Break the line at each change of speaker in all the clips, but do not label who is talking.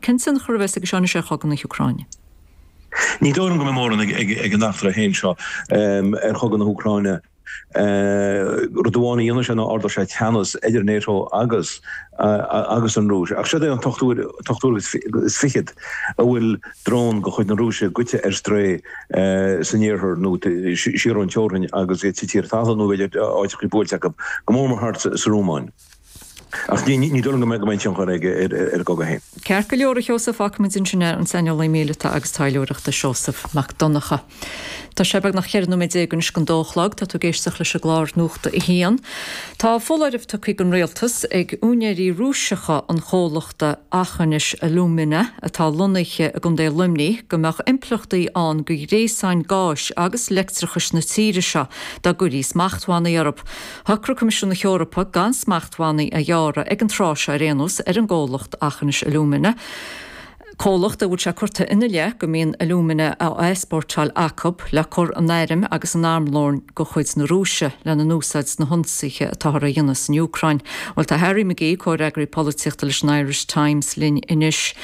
Cén tionchar a bheas aige seo anois ar chogadh na hÚcráine?
Ní dóigh liom go mbeidh mórán ag an eachtra féin seo ar chogadh na hÚcráine. Rud amháin a dhéanfaidh sé ná ardóidh sé teannas idir NATO agus agus an Rúis. Ach seod é an t-ochtú uair agus fichead a bhfuil drón de chuid na Rúise goite ar strae san iarthar nó siar ón teorainn agus iad tite ar talamh nó b'fhéidir áiteachaí buailte acu, go mór mór thart sa Rómáin. Ach ní dóigh liom go mbeidh aon tionchar aige ar an gcogadh féin.
Ceart go leor, a Sheosaimh, fágfaimid ansin é, an saineolaí míleata agus taidhleoireachta Seosamh Mac Donncha. Tá sé beagnach 14 nóiméad anois don dó a chlog. Tá tú ag éisteacht leis an gclár Nuacht a hAon. Tá foláireamh tugtha don Rialtas ag úinéirí Rúiseacha an chomhlachta Aughinish Alumina atá lonnaithe i gContae Luimnigh go mbeadh impleachtaí ann do ghréasáin gáis agus leictreachais na tíre seo dá gcuirí smachtbhannaí orthu. Shocraigh Coimisiún na hEorpa gan smachtbhannaí a ghearradh, ag an tráth seo ar aon nós, ar an gcomhlacht Aughinish Alumina, comhlacht a bhfuil sé curtha ina leith go mbíonn alúmana á easpórtáil acu le cur in airm agus in armlón de chuid na Rúise lena n-úsáid sna hionsaithe atáthar a dhéanamh san Úcráin. Bhuel, tá Harry McGee, comhfhreagraí polaitíochta leis an Irish Times linn anois.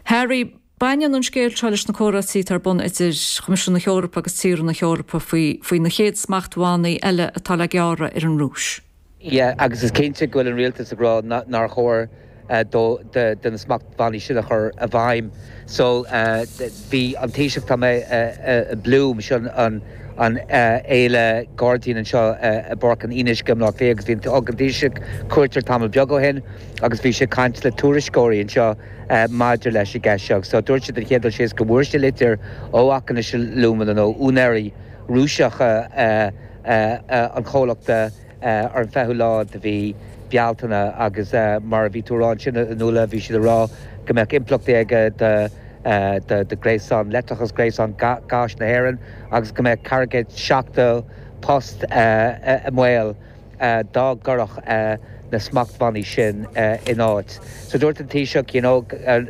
Harry. Baineann an scéal seo leis na comhráití atá ar bun idir Choimisiún na hEorpa agus tíortha na hEorpa faoi faoi na chéad smachtbhannaí eile atá le gearradh ar an Rúis.
Yeah, agus is cinnte go bhfuil an rialtas ag rá nár chóir dó de na smachtbhannaí sin a chur i bhfeidhm. So, bhí an Taoiseach, tá mé i Bloom, seo an an fhéile gairdín anseo i bPáirc an Fhionnuisce i mBleá Cliath agus bhí an thug an Taoiseach cuairt air tamall beag ó shin agus bhí sé ag caint le tuairisceoirí anseo maidir leis an gceist seo. So dúirt sé den chéad dul síos go bhfuair sé litir ó Aughinish Alumina nó úinéirí Rúiseacha an chomhlachta ar an 20ú lá de mhí Bealtaine agus mar a bhí tú a rá ansin a Nuala, bhí siad ag rá go mbeadh impleachtaí aige do do ghréasán leictreachais, gréasán gáis na hÉireann agus go mbeadh 470 post i mbaol. dá gcuirfeadh na smachtbhannaí sin in áit. So dúirt an Taoiseach you know gur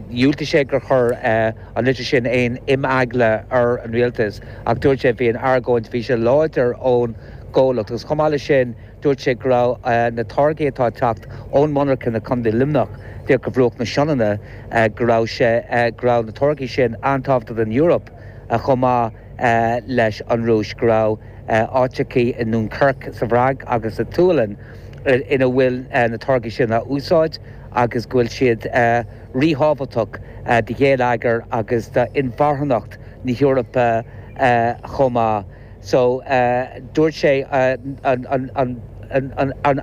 dhiúltaigh sé gur chuir an litir sin aon imeagla ar an rialtas ach dúirt sé bhí an argóint, bhí sé láidir ón gcomhlacht agus chomh maith leis sin dúirt sé go raibh na táirgí atá ag teacht ón monarcha i Contae Luimneach díreach go bhruach na Sionainne go raibh sé go raibh na táirgí sin an-tábhachtach don Eoraip chomh maith leis an Rúis, go raibh áiteachaí i nDúncairc sa bhFrainc agus sa tSualainn ina bhfuil na táirgí sin á úsáid agus go bhfuil siad ríthábhachtach do gheilleagar agus d'inmharthanacht na hEorpa chomh maith. So, dúirt sé an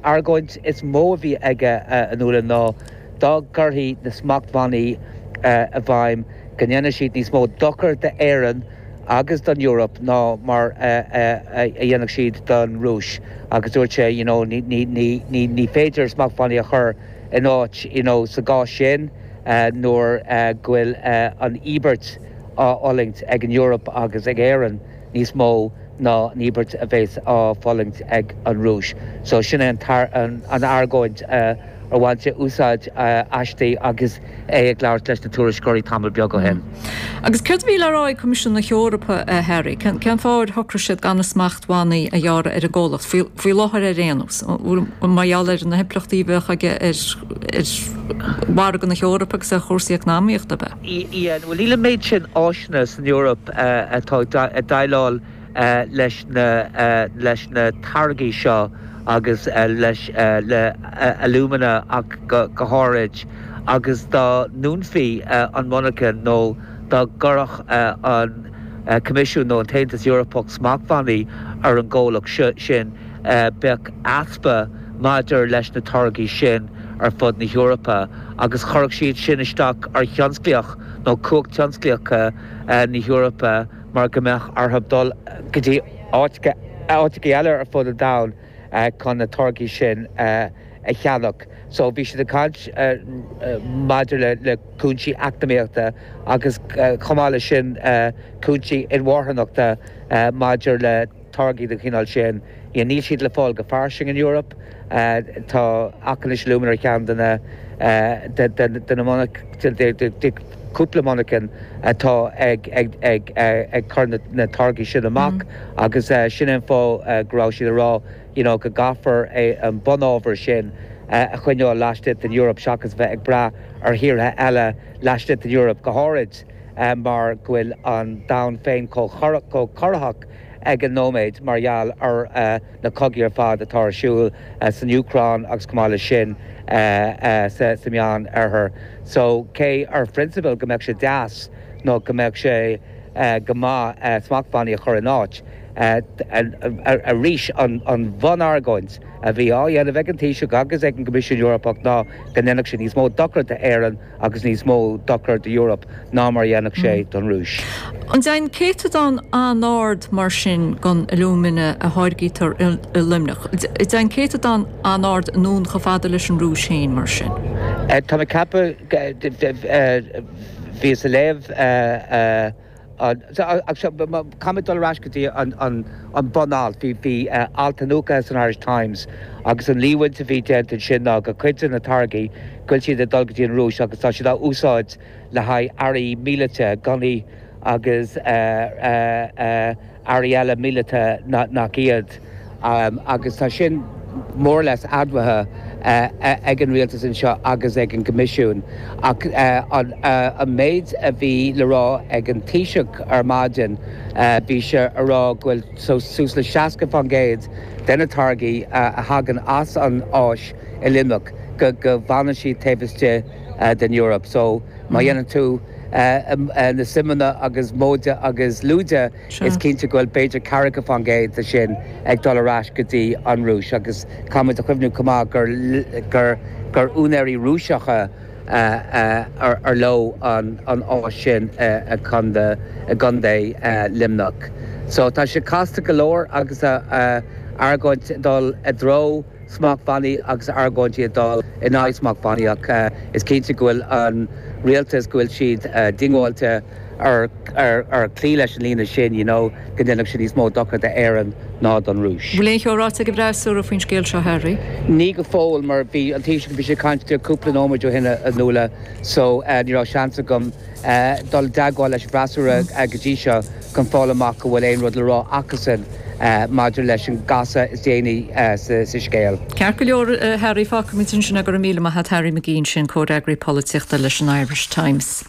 argóint is mó a bhí aige a Nuala ná dá gcuirfí na smachtbhannaí i bhfeidhm, go ndéanfaidh siad níos mó dochair d'Éirinn agus don Eoraip ná mar a dhéanfadh siad don Rúis agus dúirt sé you know ní ní ní ní féidir smachtbhannaí a chur in áit you know sa gcás sin nuair go bhfuil an íobairt á fhulaingt ag an Eoraip agus ag Éirinn níos mó ná an íobairt a bheas á fulaingt ag an Rúis. So sin é an an argóint ar bhain sé úsáid aisti agus é ag labhairt leis na tuairisceoirí tamall beag ó shin.
Agus céard a bhí le rá ag Coimisiún na hEorpa, a Harry? Cén fáth ar shocraigh siad gan na smachtbhannaí a ghearradh ar an gcomhlacht, faoi láthair ar aon nós? Mar gheall ar na himpleachtaí a bheadh aige ar mhargadh na hEorpa agus ar chúrsaí eacnamaíochta, ab
ea? Yeah, bhuel níl an méid sin áiseanna san Eoraip atá ag déileáil leis na leis na táirgí seo agus leis le alumina ach go háirid agus dá ndúnfaí an mhonarcha nó dá gcuirfeadh an Coimisiún nó an tAontas Eorpach smachtbhannaí ar an gcomhlacht sin bheadh easpa maidir leis na táirgí sin ar fud na hEorpa agus chuirfeadh siad sin isteach ar thionsclaíocht nó cumhacht tionsclaíochta na hEorpa. mar go mbeadh orthu dul go dtí áiteacha eile ar fud an domhain chun na táirgí sin a cheannach. So bhí siad ag caint maidir le cúinsí eacnamaíochta agus chomh maith leis sin cúinsí inmharthanachta maidir le táirgí den chineál sin. Níl siad le fáil go fairsing in Eoraip. Tá Aughinish Alumina ar cheann de na de na de cúpla monarchan atá ag ag ag cur na táirgí sin amach agus sin é an fáth go raibh siad ag rá you know go gcaithfear é an bunábhar sin. a choinneáil laistigh den Eoraip seachas bheith ag brath ar thíortha eile laistigh den Eoraip, go háirid mar go bhfuil an domhan féin chomh corraitheach ag an nóiméad mar gheall ar na cogaí ar fad atá ar siúl san Úcráin agus chomh maith leis sin sa Meán Oirthear. So cé ar phrionsabal go mbeadh sé deas nó go mbeadh sé go maith smachtbhannaí a chur in áit, arís an bhunargóint a bhí á dhéanamh ag an Taoiseach agus ag an gCoimisiún Eorpach ná go ndéanfadh sé níos mó dochair d'Éirinn agus níos mó dochair d'Eoraip ná mar a dhéanfadh sé don Rúis.
An dtéann céatadán an-ard mar sin den alúmana a tháirgítear i Luimneach, an dtéann céatadán an-ard anonn chomh fada leis an Rúis féin mar sin?
Tá mé ag ceapadh, bhíos ag léamh, Caithfidh mé dul ar ais go dtí an bun-alt. Bhí alt iniúchta san Irish Times agus an líomhaint a bhí déanta ansin ná go cuid de na táirgí go bhfuil siad ag dul go dtí an Rúis agus tá siad á úsáid le haghaidh earraí míleata, gunnaí agus earraí eile míleata nach iad, agus tá sin more or less admhaithe ag an rialtas anseo agus ag an gCoimisiún. Ach an méid a bhí le rá ag an Taoiseach ar maidin, bhí sé a rá go bhfuil suas le 60% de na táirgí a thagann as an áis i Luimneach go bhfanann siad taobh istigh den Eoraip. So má dhéanann tú na suimeanna agus móide agus lúide, is cinnte go bhfuil b'fhéidir ceathracha fán gcéad de sin ag dul ar ais go dtí an Rúis agus caithfimid a chuimhniú chomh maith gur gur úinéirí Rúiseacha ar leo an áis sin i gContae Luimneach. So tá sé casta go leor agus argóint ag dul i dtreo smachtbhannaí agus argóintí ag dul in aghaidh smachtbhannaí ach is cinnte go bhfuil an rialtas, go bhfuil siad diongbháilte ar cloí leis an líne sin, you know, go ndéanfadh sé níos mó dochar d'Éirinn ná don Rúis.
Bhfuil aon cheo ráite ag an bhfreasúra faoin scéal seo, Harry?
Ní go fóill mar bhí an Taoiseach, bhí sé ag caint cúpla nóiméad ó shin a Nuala so ní raibh seans agam dul i dteagmháil leis an bhfreasúra go dtí seo chun fáil amach an bhfuil aon rud le rá acusan maidir leis an gcasadh is déanaí sa scéal.
Ceart go leor, Harry, fágfaimid ansin é. Go raibh míle maith agat, Harry McGee ansin, comhfhreagraí polaitíochta leis an Irish Times.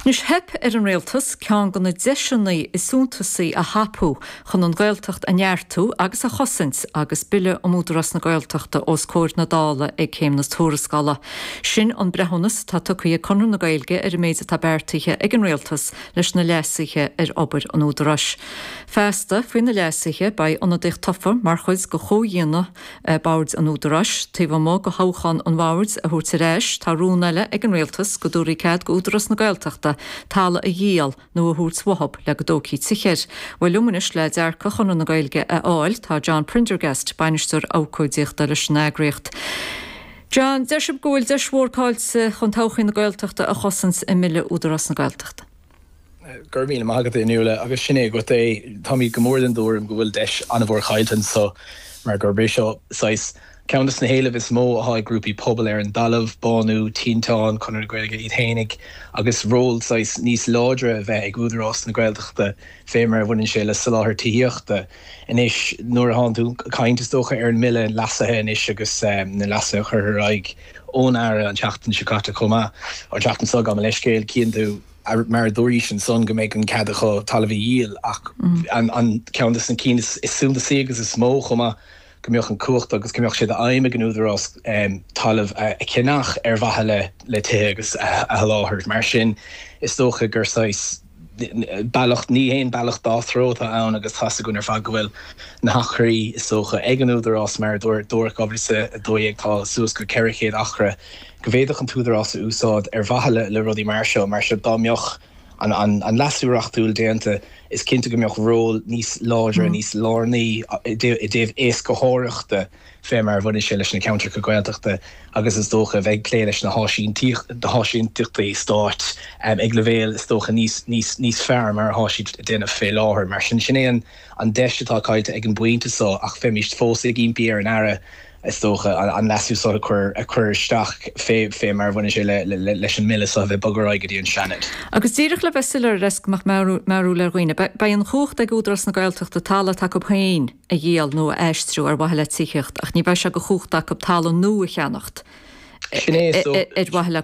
Anois, theip ar an Rialtas ceann de na deiseanna is suntasaí a thapú chun an Ghaeltacht a neartú agus a chosaint agus Bille um Údarás na Gaeltachta os comhair na Dála ag Céim na Tuarascála. Sin an breithiúnas atá tugtha ag Conradh na Gaeilge ar an méid atá beartaithe ag an Rialtas leis na leasuithe ar obair an Údaráis. Feasta, faoi na leasuithe, beidh ionadaíocht tofa mar chuid de chomhdhéanamh boird an Údaráis. Taobh amuigh de thoghchán an bhoird a thabhairt ar ais, tá rún eile ag an Rialtas go dtabharfaí cead d'Údarás na Gaeltachta talamh a dhíol nó a thabhairt uathub le go dtógfaí tithe air. Bhuel, liom anois le dearcadh Chonradh na Gaeilge a fháil, tá John Prendergast, Bainisteoir Abhcóideachta leis an eagraíocht. John, deir sibh go bhfuil deis mhór caillte chun todhchaí na Gaeltachta a chosaint i mBille Údarás na Gaeltachta.
Go raibh míle maith agat, a Fhionnuala, agus sin é agat é. Táimid go mór den dtuairim go bhfuil deis an-mhór caillte anso mar gurb é seo saghas Ceann de na héilimh is mó atá ag grúpaí pobail ar an dtalamh, Bánú, Tinteán, Conradh na Gaeilge iad fhéinig, agus ról saghas níos láidre a bheith ag Údarás na Gaeltachta fé mar a bhaineann sé le soláthar tithíochta. Anois, nuair atánn tú ag caint, is dócha, ar an mBille leasaithe anois agus na leasuithe a curtha ar aghaidh ón Aire an tseachtain seo caite chomh maith, an tseachtain seo, gabh mo leithscéal, cíonn tú, mar a dúraís ansan, go mbeidh an cead acu talamh a dhíol ach an ceann de na cinn is suntasaí agus is mó chomh maith, go mbeadh an cumhacht agus go mbeadh sé d'aidhm ag an Údarás talamh a cheannach ar mhaithe le tithe agus a sholáthar. Mar sin, is dócha gur saghas bealach, ní haon bealach dá threo atá ann agus tá's againn ar fad go bhfuil na hacraí, is dócha, ag an Údarás mar a dúradh 2012 tá suas go 400 acra go bhféadfadh an tÚdarás a úsáid ar mhaithe le rudaí mar seo. Mar sin, dá mbeadh. an leasú reachtúil déanta, is cinnte go mbeadh ról níos láidre, níos lárnaí i dtaobh éascaitheoireachta fé mar a bhaineann sé leis na ceantracha Gaeltachta agus is dócha a bheith ag plé leis na háisínteachtaí stáit ag leibhéal is dócha níos fearr mar atá siad ag déanamh fé láthair. Mar sin, sin é an deis atá caillte ag an bpointe seo ach bheimíst fós ag impí ar an Aire. Is dócha, an leasú seo a chur a chur isteach fé fé mar a bhaineann sé le leis an mbille seo a bheith bogtha ar aghaidh go dtí an Seanad.
Agus díreach le bheith soiléir ar go mbeadh meabhrú le dhaoine, beidh an chumhacht ag Údarás na Gaeltachta talamh atá acu féin a dhíol nó a aistriú ar mhaithe le tithíocht ach ní bheidh sé de chumhacht acu talamh nua a cheannacht
Sin é, so.
ar mhaithe le.